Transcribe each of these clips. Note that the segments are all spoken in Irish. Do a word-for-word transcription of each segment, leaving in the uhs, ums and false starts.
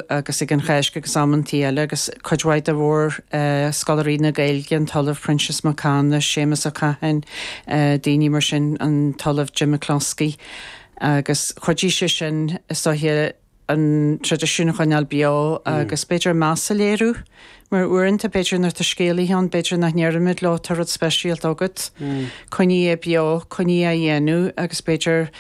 agus ag an Cháisc agus amantaí eile agus cuid mhaith de mhór scoláirí na Gaeilge, an tOllamh Proinsias Mac Cana, Séamus Ó Catháin, daoine mar sin, an tOllamh Jim McCloskey agus chuidigh sé sin is dóiche an traidisiún a choinneáil beo agus b'fhéidir meas a léiriú mar uaireanta b'fhéidir nuair atá scéalaithe ann b'fhéidir nach ndeirimid leo tá rud speisialta agat, coinnigh é beo, coinnigh á dhéanamh agus b'fhéidir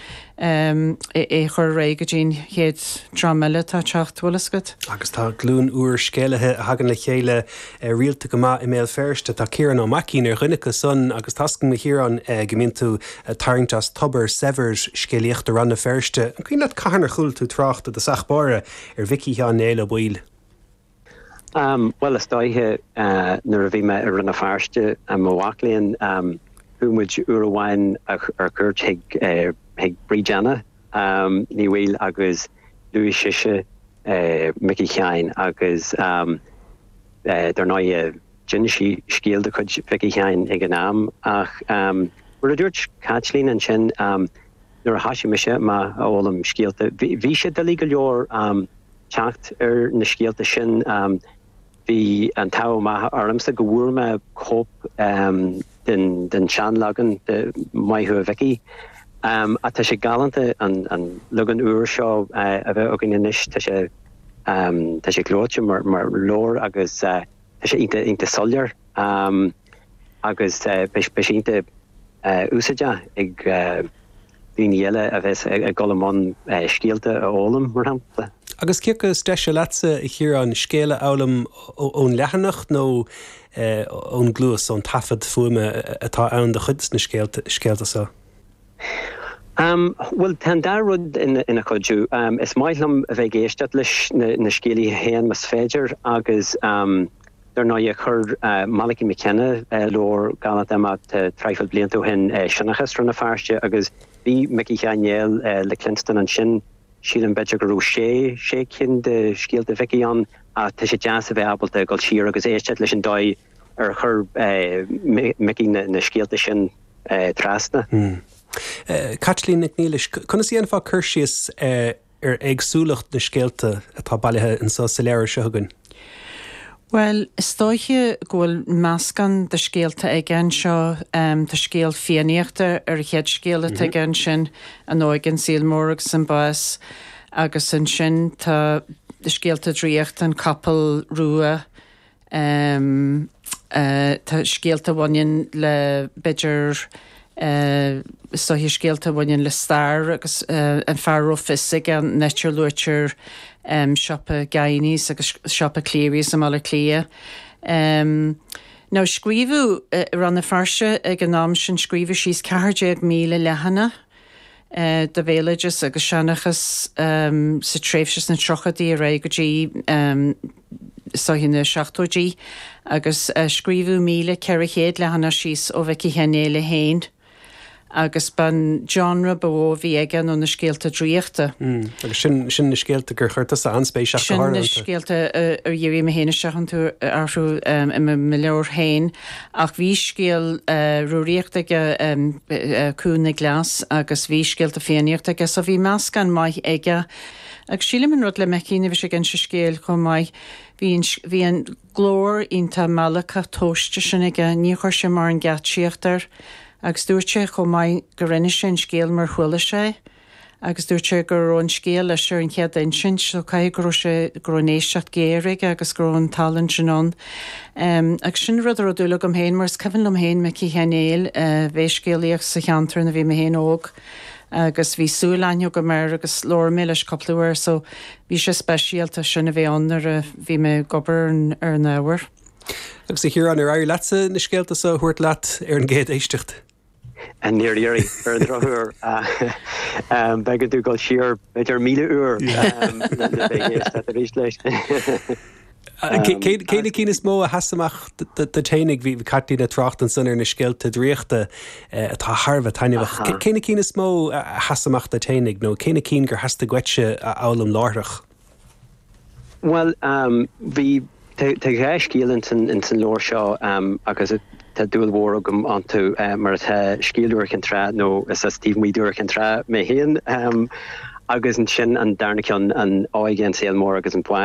é a chur ar aghaidh go dtí an chéad dream eile atá ag teacht, bhfuil fhios agat. Agus tá glúin úr scéalaithe a thagann le chéile rialta go maith i mBéal Feirste. Tá Ciarán Ó Maicín ar dhuine acu san agus tá a fhios agam a Chiaráin go mbíonn tú ag tarraingt as tobar saibhir scéalaíochta Rann na Feirste. An cuimhin leat cathain ar chuala tú trácht i dtosach báire ar Mhicí Sheáin Néill Ó Baoill? Bhuel, is dóiche nuair a bhí mé i Rann na Feirste i mo mhac léinn, chuaigh muid uair amháin ar cuairt chuig chuig Bríd Anna Ní Bhaoill agus luaigh sise Micí Sheáin agus dar ndóigh d'inis sí scéal de chuid Mhicí Sheáin ag an am ach mar a dúirt Caitlín ansin nuair a thosaigh mise amach a fhoghlaim scéalta bhí sé doiligh go leor teacht ar na scéalta sin. Bhí an t-ádh maith ormsa go bhfuair mé cóip den den seanleagan de Maith Thú a Mhicí. Ach tá sé galánta an an leagan úr seo a bheith againn anois. Tá sé tá sé gleoite mar mar leabhar agus tá sé iontach iontach soiléir agus beidh sé iontach úsáideach ag daoine eile a bheas ag dul i mbun scéalta a fhoghlaim, mar shampla. Agus cé acu is deise leatsa, a Chiaráin, scéal a fhoghlaim ón leathanach nó ón gcluas, ón taifead fuaime atá ann do chuid de na scéalta seo? Bhuel, tá an dá rud ina chuidiú. Is maith liom a bheith ag éisteacht leis na scéalaithe féin más féidir agus Dar ndóigh, chuir Malachy McKenna leabhar galánta amach traidhfil blianta ó shin, Seanchas Rann na Feirste, agus bhí Micí Sheáin Néill le cluinstin ansin. Sílim, b'fhéidir, go raibh sé, sé cinn de scéalta Mhicí ann, ach tá sé deas a bheith ábalta dul siar agus éisteacht leis an dóigh ar chuir Micí na scéalta sin trasna. Caitlín Nic Niallais, conas a dhéanfá cur síos ar éagsúlacht na scéalta atá bailithe anseo sa leabhar seo againn? Bhuel, is dóiche go bhfuil meascán de scéalta aige anseo. Tá scéal Fiannaíochta ar an chéad scéal atá aige ansin, An Óige, an Saol Mór agus an Bás, agus ansin tá scéalta draíochta, An Capall Rua, Tá scéalta a bhaineann le, b'fhéidir, is dóiche scéalta a bhaineann le stair agus an fear a raibh fios aige, an áit ar luaitear siopa Guineys agus siopa Cleary's i mBaile Átha Cliath. Now scríobhadh i Rann na Feirste ag an am sin, scríobhadh síos ceathair déag míle leathanach. de bhéaloideas agus seanchas sa tréimhse sna tríochaidí ar aghaidh go dtí is dóiche na seachtóidí agus scríobhadh míle ceithre chéad leathanach síos ó Mhicí Sheáin Néill é féin agus b'an genre ba mhó a bhí aige ná na scéalta draíochta. Agus sin sin na scéalta gur chuir tusa an-spéis ach go Sin na háirithe iontu. scéalta ar dhírigh mé féin isteach iontu orthu i mo leabhar féin ach bhí scéal Rúraíochta aige, Cú na gCleas, agus bhí scéalta Fiannaíochta aige, so bhí meascán maith aige. Agus sílim an rud le Micí nuair a bhí sé ag inse scéil chomh maith, bhí an, bhí an glór iontach meallacach tomhaiste sin aige, níor chuir sé mórán geáitsíocht air. Agus dúirt sé chomh maith gur inis sé an scéal mar chuala sé é. Agus dúirt sé go raibh an scéal leis ar an chéad insint so caithfidh go raibh sé, go raibh an éisteacht géar aige agus go raibh an tallann sin ann. Agus sin rud a raibh dúil agam féin mar is cuimhin liom féin Micí Sheáin Néill a bheith ag scéalaíocht sa cheantar nuair a bhí mé féin óg agus bhí súil aithne agam air agus labhair mé leis cúpla uair so bhí sé speisialta sin a bheith ann nuair a bhí mé ag obair ar an ábhar. Agus a Chiaráin, ar éirigh leatsa na scéalta seo a thabhairt leat ar an gcéad éisteacht? Níor éirigh, ar an drochuair. B'éigean domh dul siar b'fhéidir míle uair le bheith ag éisteacht arís leis. Cé na cinn is mó a sheas amach duit fhéinig? Bhí Caitlín ag trácht ansan ar na scéalta draíochta atá thar a bheith taitneamhach. Cé na cinn is mó a sheas amach duit fhéinig nó cé na cinn gur theastaigh uaitse a fhoghlaim láithreach? Bhuel, bhí, tá dhá scéal ins an leabhar seo agus tá dúil mhór agam iontu, mar atá, Scéal Iúr Chinn Trá, nó is as taobh amuigh d'Iúr Chinn Trá mé féin, Agus ansin an darna ceann an óige an saol mór agus an bás.